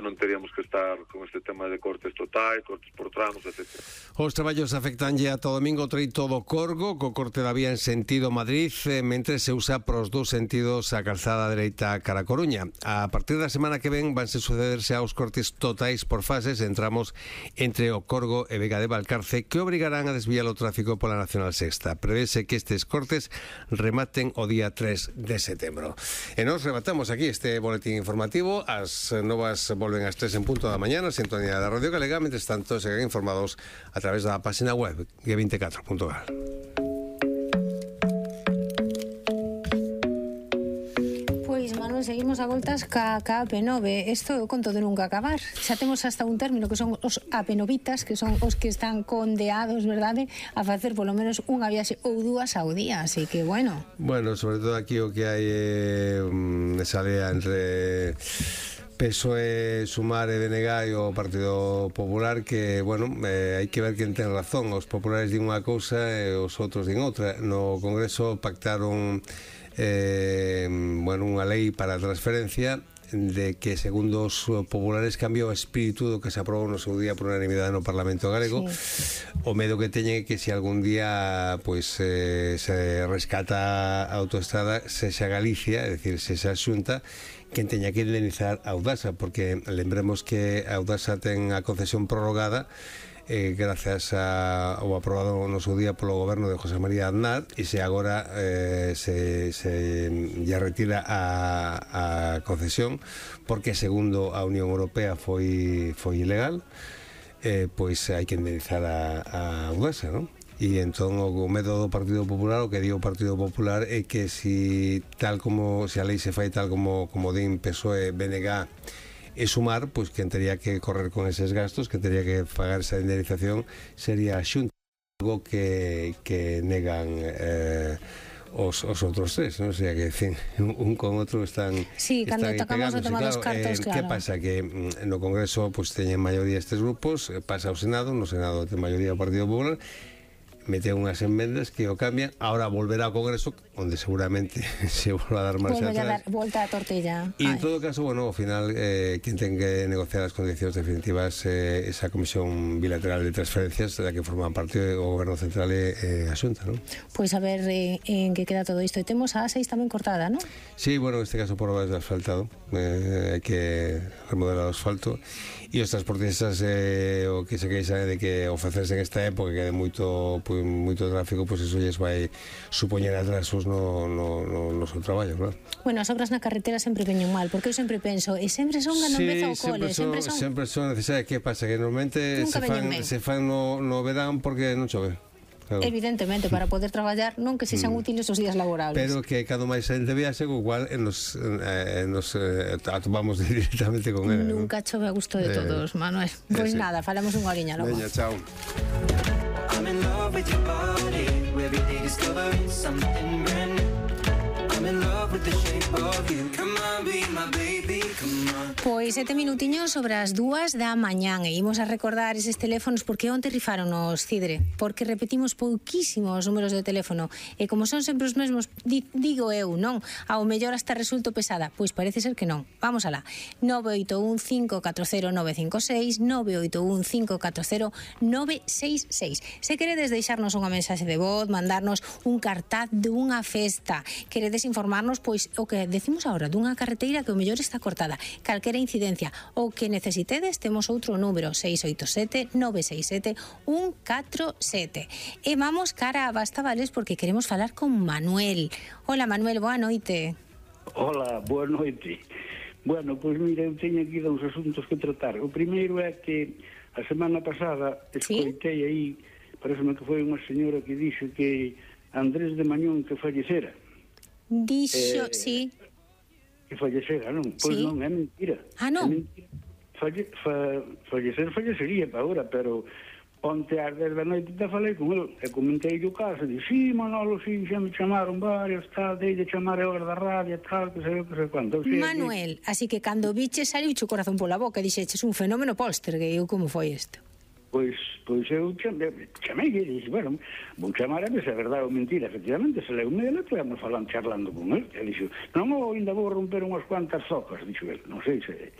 non teríamos que estar con este tema de cortes totais, cortes por tramos, etc. Os traballos afectanlle ata o domingo o treito do Corgo, co corte da vía en sentido Madrid, mentre se usa pros dous sentidos a calzada dereita cara a Coruña. A partir da semana que ven vanse sucederse aos cortes totais por fases en tramos entre o Corgo e Vega de Valcarce, que obrigarán a desviar o tráfico pola Nacional Sexta. Prevese que estes cortes rematen o día 3 de setembro. E nos rematamos aquí este boletín informativo. As novas volven ás 3 en punto da mañana, sintonía da Radio Galega. Mentres tanto, seguen informados a través da página web g24.gal. Pois, Manuel, seguimos a voltas ca AP9. Isto eu conto de nunca acabar. Xa temos hasta un término que son os AP9itas, que son os que están condeados, verdade, a facer polo menos unha viaxe ou dúas ao día, así que, bueno. Bueno, sobre todo aquí o que hai esa lea entre PSOE, Sumar e BNG e o Partido Popular, que, bueno, hai que ver quen ten razón. Os populares din unha cousa e os outros din outra. No Congreso pactaron unha lei para a transferencia de que, segundo os populares, cambia o espírito do que se aprobou no seu día por unanimidade no Parlamento galego. Sí. O medo que teñen é que se algún día se rescata a autoestrada, sexa Galicia, é dicir, sexa a Xunta quen teña que indemnizar a Audasa, porque lembremos que a Audasa ten a concesión prorrogada gracias ao aprobado no seu día polo goberno de José María Aznar, e se agora se ya retira a concesión porque, segundo a Unión Europea, foi ilegal, pois hai que indemnizar a Audasa, non? E entón o medo do Partido Popular, o que di o Partido Popular, é que se a lei se fai tal como din PSOE, BNG e Sumar, pois quen tería que correr con eses gastos, que tería que pagar esa indemnización, sería a Xunta, algo que negan os outros tres, non? O sea, que un con outro están... Sí, cando tocamos o tema dos cartos, claro. Que pasa? Que no Congreso pois teñen maioría estes grupos, pasa ao Senado, no Senado ten maioría o Partido Popular, mete unhas enmendas que o cambian, ahora volverá ao Congreso, onde seguramente se volva a dar marcha atrás. Volta a tortilla. E en todo caso, bueno, ao final quen ten que negociar as condicións definitivas esa comisión bilateral de transferencias da que forman parte o Goberno Central e a Xunta, non? Pois a ver en que queda todo isto. E temos a A6 tamén cortada, non? Sí, bueno, en este caso por obras de asfaltado, hai que remodelar o asfalto, e os transportistas o que se queixan é de que ofrecerse en esta época que quede moito tráfico, pois eso lles vai supoñer atrasos no seu traballo, claro. Bueno, as obras na carretera sempre veñen mal, porque eu sempre penso, e sempre son cando empeza o cole, sempre son necesarias. Que pasa? Que normalmente se fan no verán porque non chove. Claro. Evidentemente, para poder traballar, non que sexan útiles os días laborables. Pero que cando máis xente viaxe, igual nos atopamos directamente con ela. Nunca chove a gusto de todos, Manuel. Pois nada, falamos unha horiña logo. Veña, chao. I'm in love with your body. Every day discovering something brand new. I'm in love with the shape of you. Come on, be my baby, come on. Pois 7 minutiños sobre as 2 da mañán e imos a recordar eses teléfonos porque onte rifaron os Cidre, porque repetimos pouquísimos números de teléfono e como son sempre os mesmos, digo eu, non? Ao mellor hasta resulto pesada, pois parece ser que non. Vamos alá. 981-540-956, 981-540-966. Se queredes deixarnos unha mensaxe de voz, mandarnos un cartaz dunha festa, queredes informarnos, pois o que decimos agora, dunha carreteira que o mellor está cortada, calquera incidencia, ou que necesitedes, temos outro número, 687-967-147. E vamos cara a Bastavales porque queremos falar con Manuel. Hola, Manuel, boa noite. Hola, boa noite. Bueno, pois mira, eu teño aquí dous asuntos que tratar. O primeiro é que a semana pasada escoitei aí, pareceme que foi unha señora que dixo que Andrés de Mañón que fallecera. Dixo, sí. Que fallecera, non? Pois non, é mentira. Ah, non? Fallecería para ahora, pero onte ás 10 da noite te falei con ele e comentei o caso, e dixi, Manolo, sí, xa me chamaron varios, tal, dei de chamar a hora da radio, tal, que sei quanto. Manuel, así que cando biches saliu o corazón pola boca e dixeches un fenómeno Poltergeist, como foi isto? Pois eu chamei e dixi, bueno, vou chamar a ver se é verdade ou mentira. Efectivamente, se leu me ele, estivemos charlando con ele. E dixo, non, ainda vou romper unhas cuantas zocas, dixo ele. Non sei se